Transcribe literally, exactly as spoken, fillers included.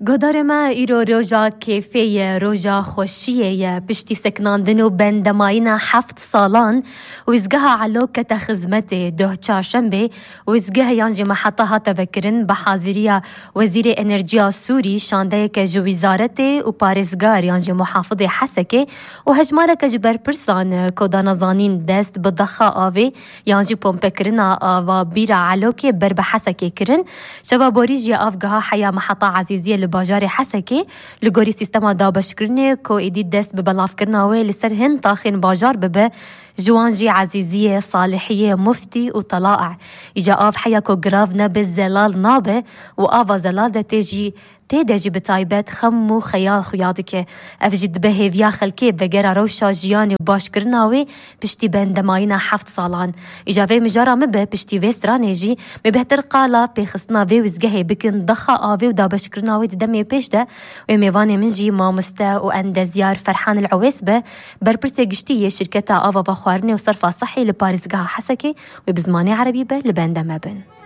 Guhdarê me, îro roja kêfê ye, roja xweşiyê ye. Piştî sekinandin û bendemayîna heft salan, wîzgeha Elo kete xizmetê. Doh çarşembê, wîzgeh yan jî meheta hate vekirin bi haziriya Wezîrê Enerjiya Sûrî, şandeyeke ji wîzaretê û parêzgar yan jî muhafizê Hesekê û hejmareke ji berpirsan, ku dane zanîn dest bi dexa avê yan jî pompekirina ava bîra Elokê ber bi Hesekê kirin. Şeva borî jî av giha heya meheta Ezîziyê li bajarê Hesekê, li gorî sîstema dabeşkirinê ku êdî dest bi belavkirina wê li ser hin taxên bajar bibe, ji wan jî Ezîziyê, Salihiyê, Muftî û Telae. Îja av heya ku girav nebe zelal nabe û ava zelal de tê jî, tê de jî bi taybet xem û xeyal xuya dike. Ev jî dibe hêviya xelkê vegera rewşa jiyanê û başkirina wê piştî bendemayîna heft salan. Îja vê mijara min be, piştî vê stranê jî me bêhtir qala pêxistina vê wizgehê bikin, dexa avê û dabeşkirina wê di demê pêş de. Wê mêvanê min jî mamoste û endezyar Ferhan El Ewês be, berpirsê giştî yê şirketa ava vexwarinê û serfa sehî li parêzgeha Hesekê, wê bi zimanê erebî be, li bende me bin.